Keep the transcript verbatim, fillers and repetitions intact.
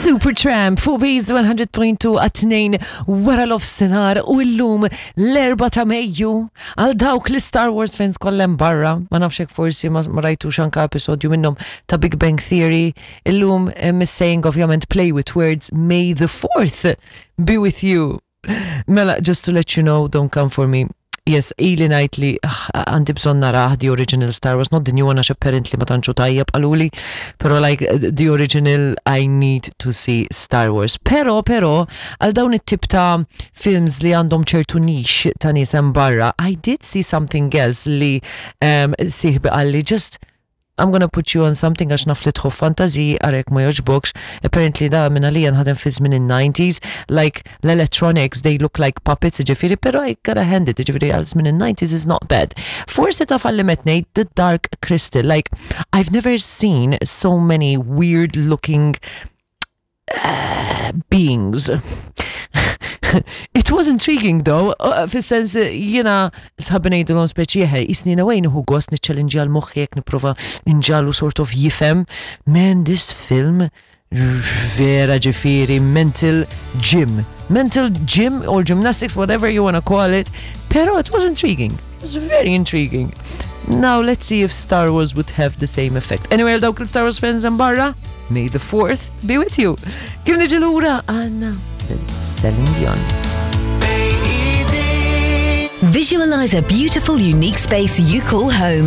Supertramp fuq Base one hundred point two għat-tnejn wara nofsinhar u llum l-erbgħa ta' Mejju. Għal dawk li Star Wars fans kollha hemm barra, ma nafx hekk forsi ma ma rajtux anka episodju minnhom ta' Big Bang Theory, illum hemm saying, ovvjament, play with words, "May the fourth be with you." Mela, just to let you know, don't come for me. Yes, ili ngħid li ah, għandi bżonn narah the original Star Wars, not the new one għax apparently ma tantx hu tajjeb qaluli, pero like the original, I need to see Star Wars. Pero, pero, għal dawn it-tip ta' films li għandhom ċertu niche ta' nies hemm barra, I did see something else li um, sieħbi qalli, "Just I'm gonna put you on something għax naf li tħobb fantasy, ara jekk ma jogħġbokx." Apparently da minn għalija nħadem fi żmien in-nineties, like l-electronics, they look like puppets, ġifieri, pero I gotta hand it, ġifieri għal żmien in-nineties is not bad. Forsi taf għalli metnej, The Dark Crystal, like I've never seen so many weird looking uh, beings. It was intriguing though, uh, fis-sens jiena sħabi ngħidulhom speċi eħe, jisni nawejn hu gost niċċellinġja l-moħħi jekk nipprova nġagħlu sort of jifhem. Man, this film vera ġifieri mental gym. Mental gym or gymnastics, whatever you wanna call it. Pero it was intriguing. It was very intriguing. Now let's see if Star Wars would have the same effect. Anyway, dawk il-Star Wars fans hemm barra, may the fourth be with you. Kif niġi lura għandna Celine Dion. Visualize a beautiful, unique space you call home.